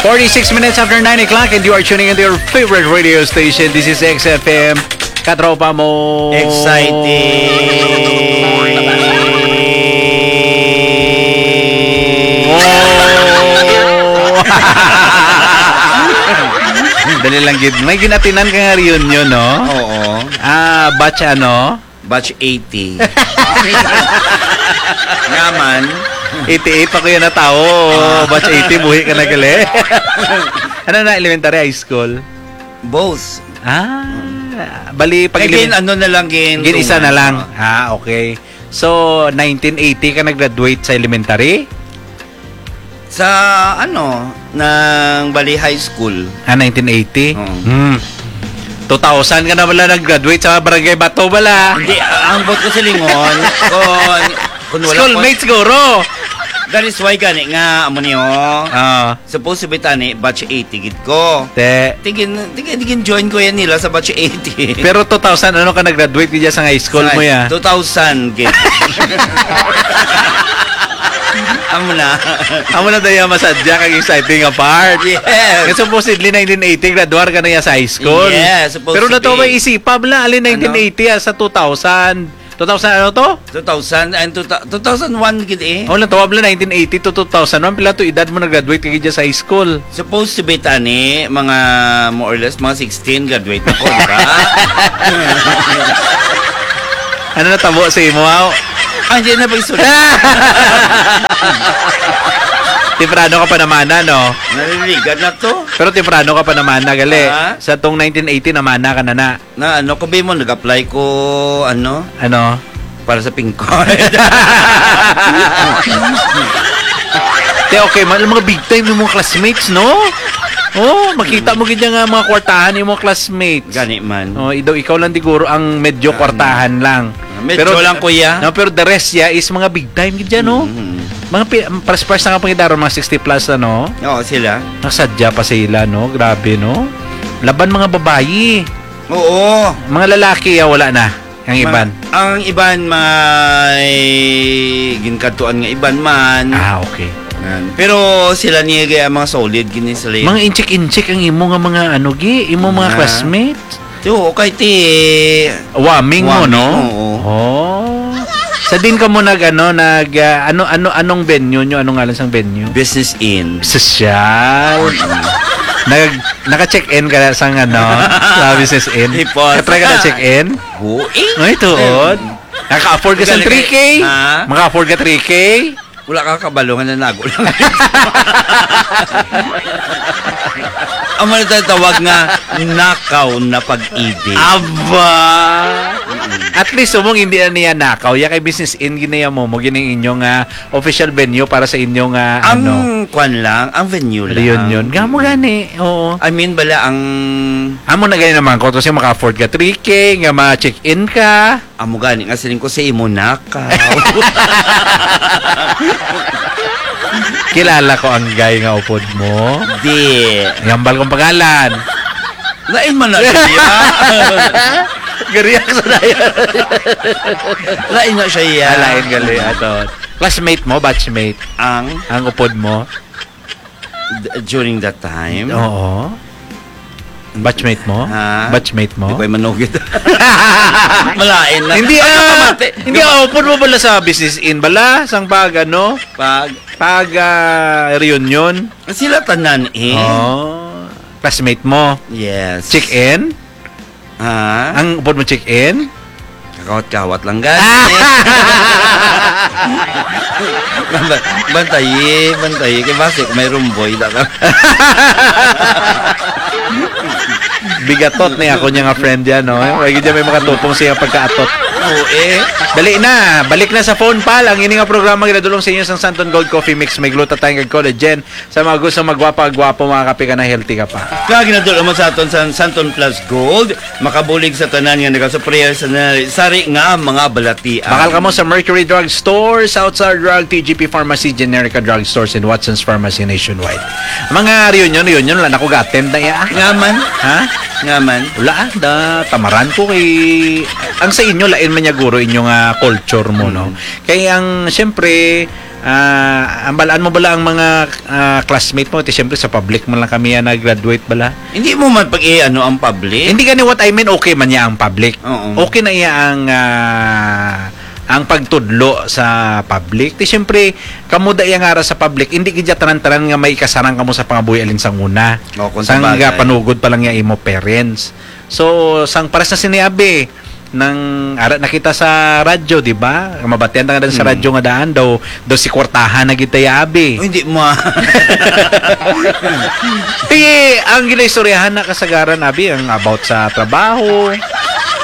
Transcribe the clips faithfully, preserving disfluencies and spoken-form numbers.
Forty-six minutes after nine o'clock, and you are tuning into your favorite radio station. This is X F M. Katropa mo. Exciting. Oh. Dali lang gid. May ginatinan ka nga reunion, no? Oo. Ah, batch ano? Batch eighty. Nga man. Eighty-eight ako yan na tao. Ah. Batch eighty, buhi ka na gali. Ano na, elementary, high school? Both. Ah, bali, pag Kaya elemen-, gin-, ano na lang, gin-, gin-isa na tungan. lang. Ah, okay. So, nineteen eighty ka nag-graduate sa elementary? Sa, ano, ng Bali High School. Ah, nineteen eighty? Oo. Hmm. Two thousand ka na wala nag-graduate sa Barangay Bato, bala. Hindi, ang buot ko silingon, kung, kung wala ko Schoolmate siguro. That is why gani nga, amo niyo. Ah. Supposed to be tani, batch eighty gid ko. Te. Tigin, tigin, tigin join ko yan nila sa batch eighty. Pero two thousand, ano ka nag-graduate gid sa high school Sa mo, ya? Two thousand gid. Amo na. Amo na tayo masadya kag exciting nga part. Yes. Nga supposedly nineteen eighty, graduar ka na ya sa high school. Yes, supposed Pero to nato be. May isipa, bala, alin Ano? nineteen eighty, ah, sa two thousand. Two thousand, ano to? Two thousand and two thou-, two thousand one gid eh. Oh, natawag lang nineteen eighty to two thousand one. Pila to edad mo nag-graduate ka gid sa high school? Supposed to be tani, mga more or less, mga sixteen graduate ako, di ba? Ano natabo sa imo, aw? Ah, hindi na pagsunod. Temprano ka pa namana, no? Naliligan na to. Pero temprano ka pa namana, gali. Ah? Sa tong nineteen eighty, namana ka na na. Na ano, kung mo, nag-apply ko, ano, Ano? para sa pink card. Te, okay man, mga big time yung mga classmates, no? Oh, makita mo gid nga mga kwartahan yung mga classmates. Gani man. Oh, idaw ikaw lang siguro ang medyo Ah, kwartahan lang. Medyo Pero lang, kuya. No, pero the rest, yeah, is mga big time gid yan, no? Mm. Mga pi-, pares-pares na nga pangidaron, mga sixty plus, ano? Oo, sila. Nasadya pa sila, no? Grabe, no? Laban mga babayi. Oo. Mga lalaki, ah, wala na. Ang Ma-, iban. ang iban may ginkadtuan nga iban man. Ah, okay. Yan. Pero sila ni gaya mga solid gini sila. Mga inchik-inchik ang imo nga mga ano, gi, imo mga Ah. classmates. Ti, oo, kay ti Waming mo, Waming, no? oo. Oh. Sa din ka mo nag, ano, nag, ah, ano, ano, anong venue nyo? Anong ngalan sang venue? Business Inn. Sosyal. Nag, naka-check-in ka na sang, ano, sa Business Inn? Ipon. Katry ka na check-in? Buing. Ay, tuod. Naka-afford ka sa Galing three K? kay, ha? Maka-afford ka three K? Wala ka kabalo nga nanago lang. Amo na tayo tawag nga nakaw na pag-ibig. Aba! Mm-mm. At least, umong hindi na niya nakaw. Ya kay Business Inn, ginaya mo, mo gining inyong, ah, official venue para sa inyong, ah, Ang ano, kwan lang, ang venue lang. reunion. Nga mo gani, oo. I mean, bala ang Amo na gani naman ko, kasi maka-afford ka three K, nga ma-check-in ka. Amo gani nga siling ko sa imo, nakaw. Kilala ko ang guy nga upod mo. Di. Yambal kong pangalan. Lain man na siya. Gariyak sa dayan. Lain na siya, ya. Ah, lain gali, ato. Classmate mo, batchmate? Ang? Ang upod mo? D-, during that time? Oo. Batchmate mo? Ha? Batchmate mo? Di ko yung manugit. Malain na. Hindi, Ano ah, ka, mate? hindi, Di ba? ah, upod mo bala sa Business Inn bala? Sang pag, ano? Pag? Pag, ah, reunion? Sila tanan eh. Oh. Classmate mo? Yes. Check-in? Ha? Ang upod mo check-in? Kakawat-kawat lang, gani. Banta-, bantayi, bantayi. Kay basi, may rumboy, da ka. Bigatot ni ako niya nga friend yan, no? May gid may makatupong siya pagkaatot. Oo, eh. Dali na, balik na sa phone, pal. Ang ini nga programa ginadulong sa inyo sang Santon Gold Coffee Mix, may glutathione kag collagen. Sa mga gusto magwapa, gwapo, mga kape ka na, healthy ka pa. Kag nadul-, mo sa aton sa Santon Plus Gold, makabulig sa tanan nga nagasuprayer sa na-, sari nga mga balatian. Bakal kamo sa Mercury Drug Store, South Star Drug, T G P Pharmacy, Generica Drug Stores, and Watson's Pharmacy nationwide. Mga reunion, reunion, wala na ko ga-attend na iya. Nga man. Ha? Nga man. Wala, ah, da, tamaran ko kay, ang sa inyo, lain man niya guro inyo nga culture mo, no? Mm. Kay ang, siyempre, Ah, ang balaan mo bala ang mga, ah, classmate mo? Ti, siyempre, sa public man lang kami yan nag-graduate bala. Hindi mo man pag-i-ano ang public? Hindi gani, what I mean, okay man niya ang public. Oo. Okay na iya ang, ah, ang pagtudlo sa public. Ti, siyempre, kamo da iya nga ara sa public, hindi gid tanan-tanan nga may ikasarang kamo sa pangabuhi alin sang una. O, kung sa Sang bagay. Panugod pa lang niya imo parents. So, sang pares na sini abi, nang ara na kita sa radyo, di ba? Mabatian na nga sa Hmm. radyo nga daan daw, daw si kwartahan na gid ta ya abi. Oh, hindi mo, ah. Ti, ang ginaistoryahan na kasagaran abi, ang about sa trabaho,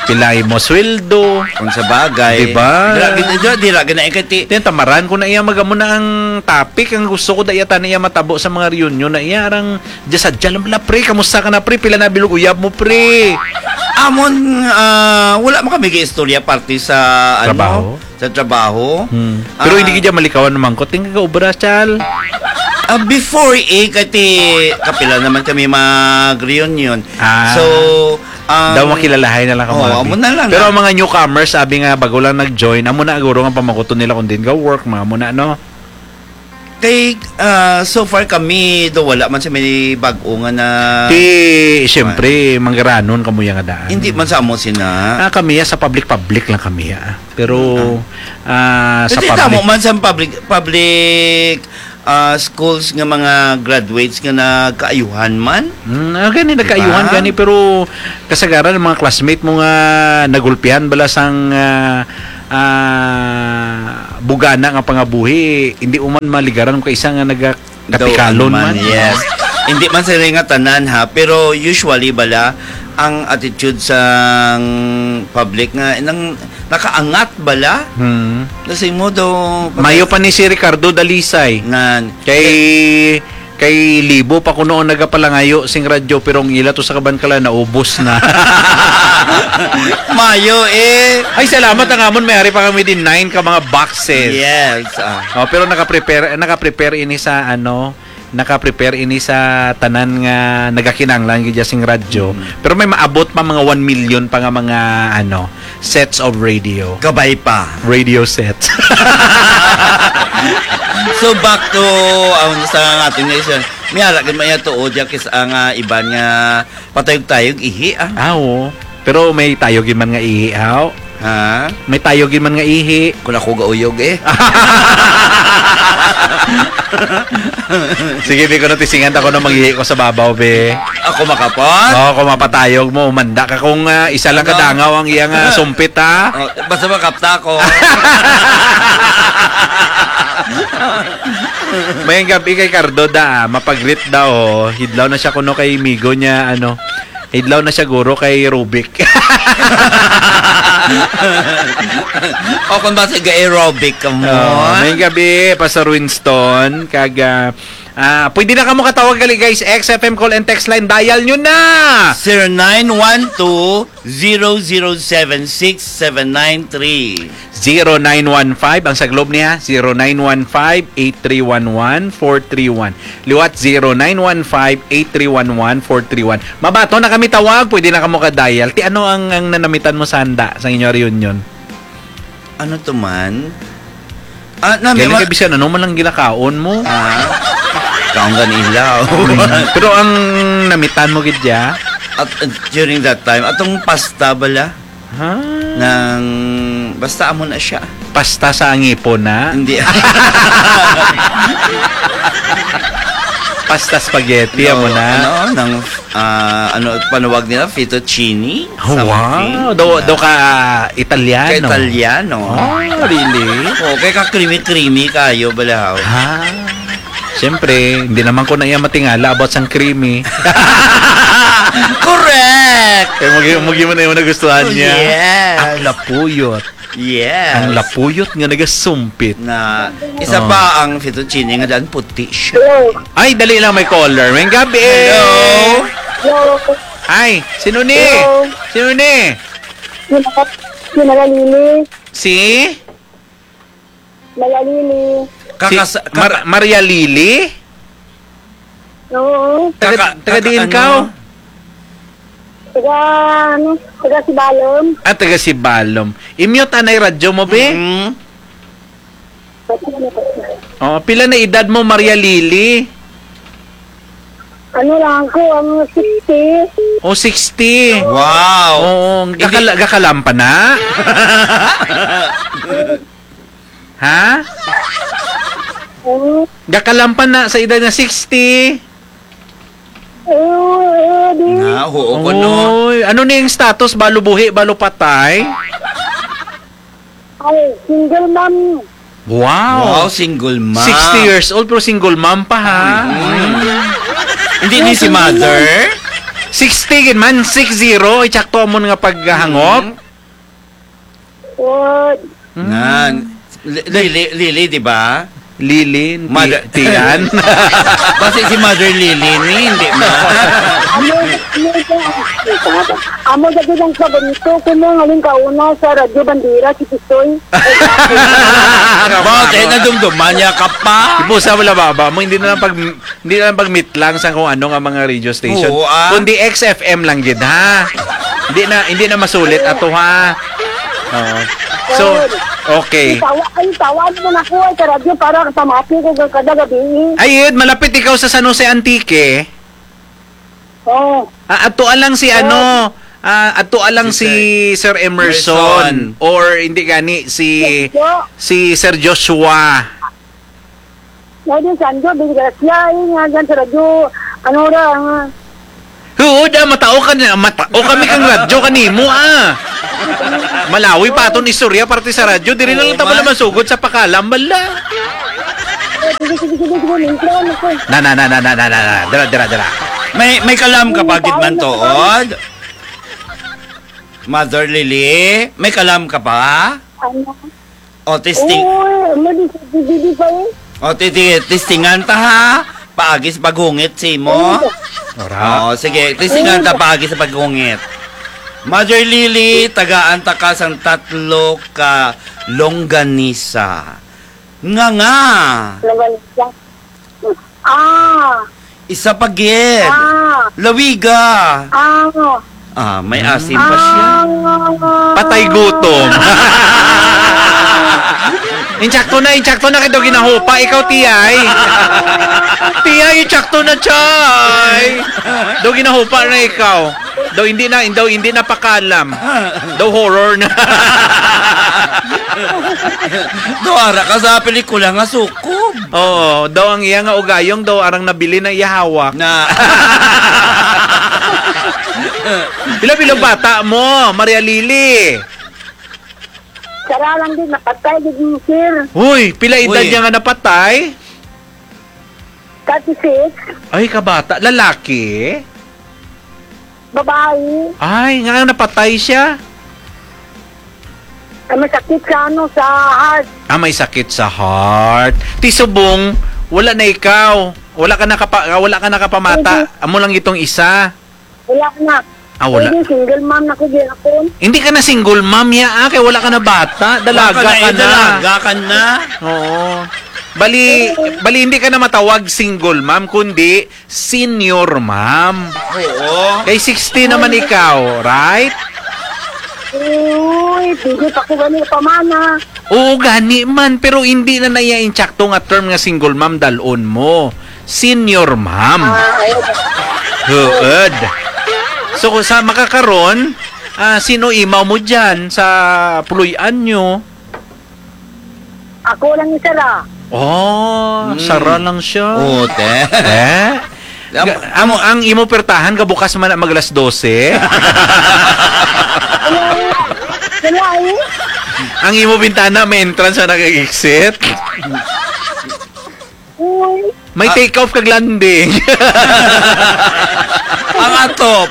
pila imo sweldo. Kung sa bagay. Di ba? Dira gid, dira, dira gid na ikati. Ti, tamaran ko na iya, magamo na ang topic, ang gusto ko da iya, tani iya matabo sa mga reunion na iya, arang Diya sadya lang bala, pre. Kamusta ka na, pre? Pila na bilog uyab mo, pre? Amon, ah, wala man kami istorya parte sa, ano, Trabaho? sa trabaho. Hmm. Pero Ah, hindi gid malikawan naman ko. Tingga ka obra, chal. Ah, before, eh, kati kapila naman kami mag-reunion. Ah. So, ang Daw makilalahay na lang ka, Oo, Marvin. amo na lang Pero na. ang mga newcomers, sabi nga, bago lang nag-join, amo na guro nga pamakuton nila kung din ka work, mga amo na, no? Kay, ah, so far kami, do wala man sa may bag-o nga na Ti, siyempre, manggaranon kamo ya nga daan. Hindi man sa amo sina. Ah, kami ya, sa public-public lang kami ya. Pero, ah, sa Hindi public tamo man sa public, public, ah, schools nga mga graduates nga nagkaayuhan man. Mm, ah, gani, Di ba? nagkaayuhan gani, pero kasagaran ang mga classmate mo nga nagulpihan bala sang, ah, ah, bugana nga pangabuhi, hindi mo man maligaran kung kaisa nga naga-, Daw, kapikalon ano man, man. yes. Hindi man sila nga tanan, ha, pero usually bala ang attitude sang public nga nang nakaangat bala. Hmm. Kasi mo daw Mayo pa ni si Ricardo Dalisay. Nan. Kay Kay libo pa kuno ang nagapalangayo sing radyo, pero ang ila to sa Kabancala naubos na. Mayo, eh. Ay, salamat ang amon, may ari pa kami din nine ka mga boxes. Yes, ah. Oh, pero naka-prepare, naka-prepare ini sa, ano, naka-prepare ini sa tanan nga nagakinanglan gid sing radyo. Mm. Pero may maabot pa mga one million pa nga mga, ano, sets of radio. Kabay pa. Radio sets. So, back to, um, sa ating nation. May ara gid man iya tuod, ya kis-, ang, ah, iban nga patayog-tayog ihi, ah. Ah, oo. Pero may tayog man nga ihi, haw? Ha? May tayog man nga ihi. Kung ako gauyog, eh. Sige, di ko na tisingan, ako na mag-ihi ko sa babaw, be. Ako makapot? Oo, kung mapatayog mo, umanda ka kung, ah, isa lang Ano? kadangaw ang iyang, ah, sumpit, ha? Oh, basta makapta ko. Mayang gabi kay Cardo da, ah. Mapagrit daw, oh. Hidlaw na siya kuno kay migo niya, ano. Hidlaw na siya guro kay Rubik. O kung basta ga-aerobic ka mo. Oh, mayang gabi, Pastor Winston. Kag, ah, ah, pwede na kamo katawag gali, guys. X F M call and text line, dial nyo na! Zero nine one two, zero zero seven six seven nine three. Zero nine one five, ang saglob niya, zero nine one five, eight three one one, four three one. Liwat, zero nine one five, eight three one one, four three one. Mabaton na kami tawag, pwede na kamo ka-dial. Ti ano ang, ang nanamitan mo sa handa sa inyo reunion? Ano to man? Ah, nami Gani ma- kay bisan ano man lang ginakaon mo. Ah, kaon gani ilaw. Mm. Pero ang namitan mo gid ya? At, uh, during that time, atong pasta bala. Ha? Nang, basta amo na siya. Pasta sa angipon na? Hindi. Pasta spaghetti, No, amo na? ano, nang, ah, ano, panawag nila, fettuccine? Oh, Something. wow. Daw, Yeah. daw ka Italiano. Ka Italiano. Oh, really? Oh, kay ka creamy-creamy kayo, balahaw. Ha? Siyempre, hindi naman ko na iya matingala about sang creamy. Correct! Kaya mugi, mugi mo na yung nagustuhan Oh, niya. yes. Ang lapuyot. Yes. Ang lapuyot nga nagasumpit. Na, isa Oh. pa ang fettuccine nga daan puti siya. Hello. Ay, dali lang, may caller. May gabi. Hello. Hello. Ay, sino ni? Hello. Sino ni? Sino ka? Sino ka, Lily? Si? Maria Lily. Kakas-, Si Mar-, kaka- Maria Lily? Oo. Taga, Kaka-, taga kaka-, diin ano? ka? Taga, ano, taga Sibalom. Ah, taga Sibalom. I-mute anay radyo mo, be? Mm. Pati ano pa siya? Oh, pila na edad mo, Maria Lily? Ano lang ko, ang sixty. Oh, sixty. Wow. Oo, Hindi gakala-, gakalam pa na? Ha? Oo. Gakalam pa na sa edad nga sixty? Oo, oo, di. Na, oo ko, no? Oy, ano na yung status? Balo buhi, balo patay? Ay, single mom. Wow. Wow, single mom. Sixty years old, pero single mom pa, ha? Mm. Hindi ni si mother? Sixty gid man, six zero. Itsakto mo nga paghangop. Mm. What? Mm. Nan. Li-, Lily, Lily, di ba? Lily, Mother- Ti-, Tian. Basi si Mother Lily ni, hindi na. Amo, amo, amo, amo, dati lang sa ganito, kung mo ngaling kauna sa Radyo Bandera, si Pistoy. Bakit? Nadumduman niya ka pa? Ibusa mo lang, baba mo, hindi na lang pag, hindi na lang pag-meet lang sa kung ano nga mga radio station. Oo, ah. Kundi X F M lang gid, ha? Hindi na, hindi na masulit ato, ha? Oo. So, okay. Ay, tawa-, ay, tawag mo na ko, ay, sa radyo para pamati ko kada gabi. Ay, Ed, malapit ikaw sa San Jose, Antique. Oh. Ah, adtoa lang si Oh. ano, ah, adtoa lang Si si Sir Sir Emerson Emerson. or hindi gani si Yes, po. si Sir Joshua. Pwede, Sandro, disgrasya, eh, nga dyan sa radyo, ano ra, nga. Oo, da, matao ka na, matao kami kang radyo kanimo, ah. Malawi pa aton istorya parte sa radyo, diri na lang Oo, ta pala man. masugod sa pakalam, bala. Eh, sige, sige, sige, sige, intro, ano ko. Na, na, na, na, na, na, na, na. Dira, dira, dira. May, may kalam ka pa, May gid man kalam na tuod? Mother Lily, may kalam ka pa? Ano? O, testing. Oo, ano di sa D V D pa eh? O, ti-, ti-, testingan ta, ha? Paagi sa paghungit, si mo? Ano? Ora. O, sige, testingan ta Oo. paagi sa paghungit. Mother Lily, tagaan ta ka sang tatlo ka longganisa. Nga nga. Longganisa. Ah. Isa pa gid. Ah. Lawiga. Ah. Ah, may asin pa siya. Ah. Patay gutom. Insakto na, insakto na kay daw ginahupa. Ikaw, Tiyay. Tiyay, insakto na, Chay. Daw ginahupa na ikaw. Daw hindi na, daw hindi na pakalam. Daw horror na. Daw ara ka sa pelikula nga sukob. Oo, daw ang iya nga ugayong daw arang nabilin ang iya hawak. Na. Pila-pila bata mo, Maria Lily? Sara lang din, napatay din, sir. Uy, pila edad Uy. niya nga napatay? Thirty-six. Ay, kabata. Lalaki? Babae. Ay, nga napatay siya? Ah, may sakit sa ano, sa heart. Ah, may sakit sa heart. Ti subong, wala na ikaw. Wala ka nakapa-, wala ka nakapamata. Hindi. Amo lang itong isa. Wala na. Ah, wala. Hindi, single mom na ko gihapon. Hindi ka na single mom, ya, ah, kay wala ka na bata. Dalaga Wala ka na, ka eh, na. dalaga ka na. Oo. Bali, Oo. bali hindi ka na matawag single mom, kundi senior mom. Oo. Kay sixty naman ikaw, right? Uy, hindi pa ko gani pamana. Oo, gani man, pero hindi na naiya insakto nga term nga single mom dalon mo. Senior mom. Ah, ayun. Huod. So, sa makakaron, ah, sino imaw mo dyan sa puloy-an nyo? Ako lang isa ra. Oh, Mm. sara lang siya. Oo, te. Eh? Am- Ga-, ang, ang imo pertahan, gabukas man na mag alas dose? Wala, wala eh. Ang imo bintana, may entrance na nag-exit? Uy. May Ah. take off kag landing. Ang atop.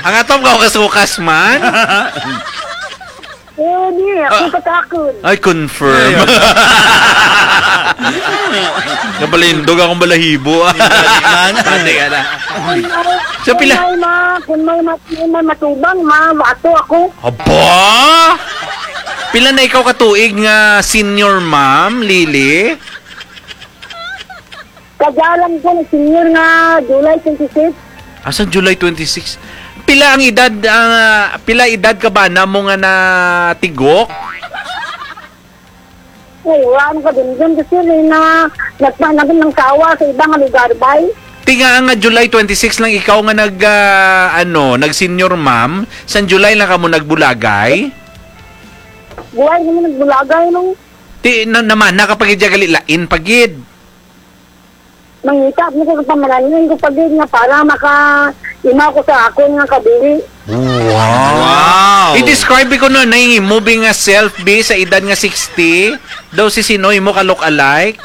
Ang atop ka, kasukas man. Eh, di, ako Ah. katakon. Ay, confirm. Ayun. Nabalindog akong balahibo. Hindi man. Pati ka na. Kung may, So, kung pila? may ma-, kung may ma-, may matubang, ma-, ato ako. Aba! Pila na ikaw katuig nga senior ma'am, Lily? Kagalang ko, senior nga July twenty-six. Asa July twenty-six? Pila ang edad, ah, pila edad ka ba na mo nga natigok? Wala mo kadumdum kasi rin na nagpanagin ng sawa sa iba nga lugar, bay. Tinga nga July twenty-six lang ikaw nga nag, ah, ano, nag-senior ma'am. San July lang kamo nagbulagay? Buhay naman nagbulagay nung Ti, na, naman, nakapagidya gali lain pagid. Mangita mo ko sa pamalanin ko pagid nga para maka-imaw ko sa akon nga kabuhi. Wow. Wow. I-describe ko no, na yung moving nga self, be, sa edad nga sixty, daw si sino, imo ka look alike?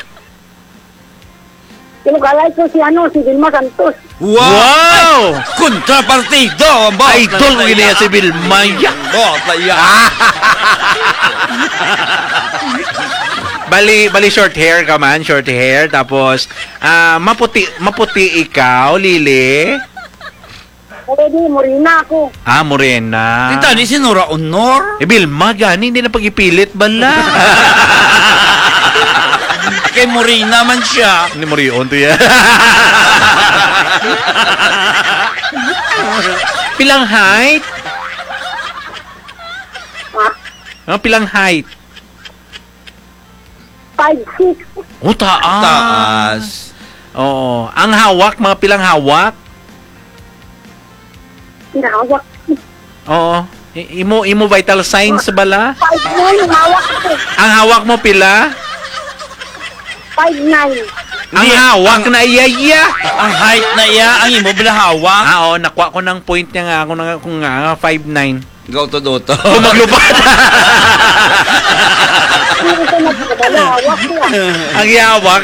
Yung kalay ko si ano, si Vilma Santos. Wow! Wow! Kontrapartido, ang boss. Idol ko gini si Vilma, ya. Boss, ya. Bali, bali short hair ka man, short hair, tapos, ah, maputi, maputi ikaw, Lily? Pwede, morena ako. Ah, morena. Kita ni si Nora Honor? Eh, Vilma, gani, hindi na pag-ipilit, bala. Kay morena man siya. Hindi morion to yan. Pilang height? Ha? Ah, pilang height? Five six. Oh, taas. Taas. Oo. Ang hawak, mga pilang hawak? Ang hawak. Oo. I-, imo, imo vital signs bala? Five nine ang hawak ko. Ang hawak mo pila? Five nine. Ang Hindi, hawak ang na iya, iya. Ang height na iya, ang imo bala hawak. Ah, oo, nakuha ko ng point niya nga. Ako na nga, kung nga, five nine. Gaw to, Doto. Kung maglupad. Hindi ko nagkakabala, hawak ko lang. Ang yawak,